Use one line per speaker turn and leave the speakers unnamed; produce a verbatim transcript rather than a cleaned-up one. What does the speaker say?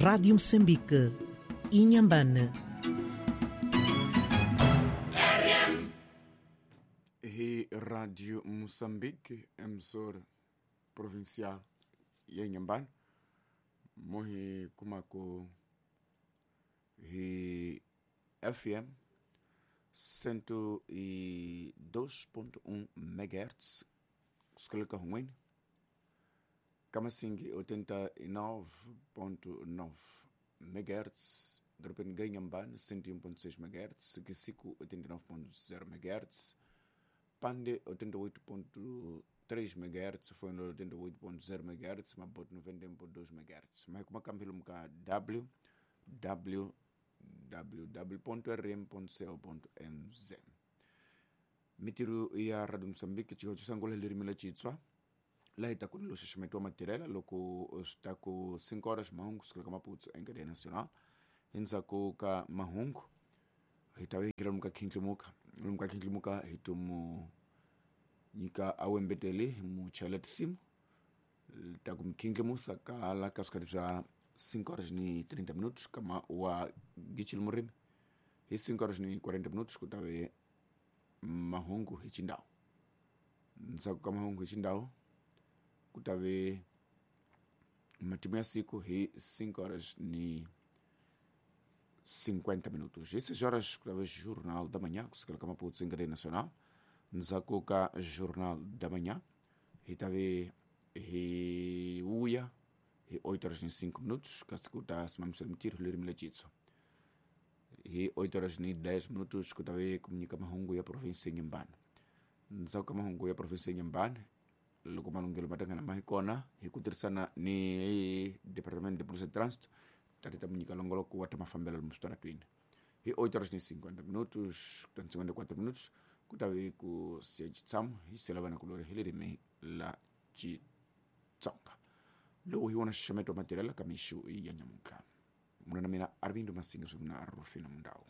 Rádio Moçambique, Inhambane.
Hi Radio Moçambique, emissora provincial ya Inhambane, mohi kumako hi F M cento e dois ponto um megahertz, kusukela hun'wini, Kamasingi oitenta e nove ponto nove megahertz, dorobeni ga Inhambane cento e um ponto seis megahertz, Kisiku oitenta e nove ponto zero megahertz, Pande oitenta e oito ponto três megahertz, Foino oitenta e oito ponto zero megahertz, Maputo noventa e um ponto dois megahertz. Mas como cambio ka w w w ponto r m ponto co ponto m z. Mitiru ya Radio Moçambique chiko chisangola lirimi la Chitswa. La ita kunilo xiximetiwa matirela loko swi ta ku cinco horas mahungu kusukela ka Maputo em cadeia nacional. Endzhaku ka mahungu hi ta vekela lomu ka khindlimuka, lomu ka khindlimuka hi tomu nyika awembeteli hi mu chayela tinsimu ta ku mi khindlimusa ka la ka swikarhi swa cinco horas ni trinta minutos kama wa Gichil Murimi. Hi cinco horas ni quarenta minutos ku ta ve mahungu hi Chindau. Ndzhaku ka mahungu hi Chindau ku ta ve matimu ya siku hi cinco horas ni cinquenta minutos. Hi seis horas ku ta ve Jornal da Manhã kusukela ka Maputo em cadeia nacional. Ndzhaku ka Jornal da Manhã hi ta ve hi vuya hi oito horas ni cinco minutos kasi ku ta simamisela mintirho ririmi la Xitsonga. Hi oito horas ni dez minutos ku ta ve ku nyika mahungu ya province ya Inhambane. Ndzhaku ka mahungu ya province ya Inhambane loko malunghelo ma tangana ma hi kona hi ku tirhisana ni Departamento de Polícia de Trânsito ta ti ta mu nyika longoloko wa ta mafambelo lomu switaratwini. Hi oito horas ni cinquenta minutos kutani cinquenta e quatro minutos ku ta ve ku siya xitshamo hi sela vana kulori hi ririmi la Xitsonga. Lowu hi wona xixameto wa matirhela ka mixo ya nyamuntlha. Munhu na mina Arvindo Masinga swi mina Rufino Mundau.